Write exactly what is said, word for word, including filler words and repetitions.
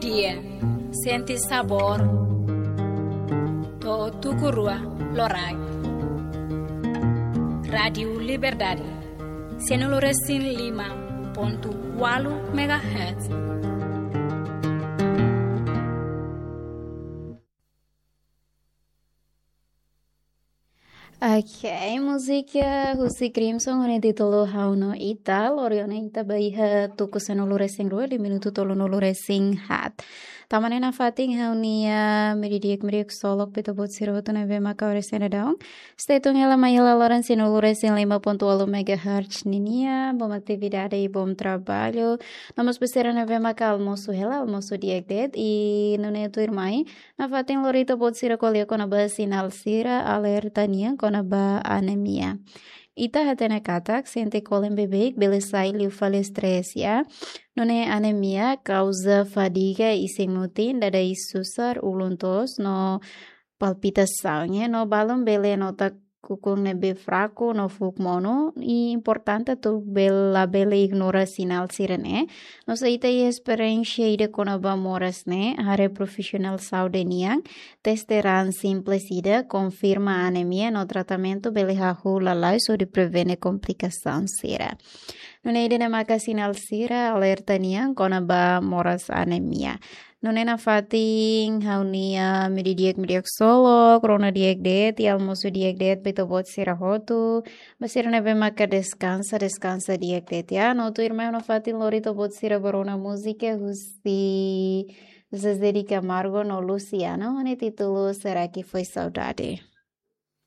Dia, sente sabór to'o tuku rua loraik. Rádiu Liberdade, sianulu resin lima pontu ualu megahertz. Ok, múzika husi Crimson ho nia títulu Ha'u no Ita, lori ona ita ba iha tuku sanulu resin rua, di minutu tolunulu resin haat. Tama ona iha fatin ha'u-nia mediodía, mediodía solok ba ita-boot sira hotu ne'ebé maka oras ne'e daudaun. Stay tune hela mai hela loron sianulu resin lima pontu ualu megahertz ninia, bom atividade i bom trabalho. No mós ba sira ne'ebé maka almosu hela, almosu di'ak de'it, i nune'e tuirmai nafatin lori ita-boot sira ko'alia kona-ba sinál sira alerta nian kona-ba anemia. Ita hatene katak sente kolen beibeik bele sai liu fali estrés, ya. Nune'e anemia kauza fadiga isin-mutin, dadais susar, ulun toos no palpitasaun, ya. No balun bele nota kukun ne'ebé fraku no fuuk monu, i importante atu bel-, labele ignora sinál sira-ne'e. No se ita iha esperiénsia ida kona-ba moras ne'e, haree profisionál saúde nian, teste raan simples ida, konfirma anemia no tratamentu bele hahú lalais hodi prevene komplikasaun sira. Nune'e ida-ne'e maka sinál sira alerta nian kona-ba moras anemia. Nune'e nafatin ha'u-nia mediodía, mediodía solok, rona di'ak de'it, i almosu di'ak de'it ba ita-boot sira hotu. Ba sira ne'ebé maka deskansa, deskansa di'ak de'it, ya. No tuirmai nafatin lori ita-boot sira ba rona múzika husi Zezé de Camargo no Luciano, ho nia títulu Será que foi saudade?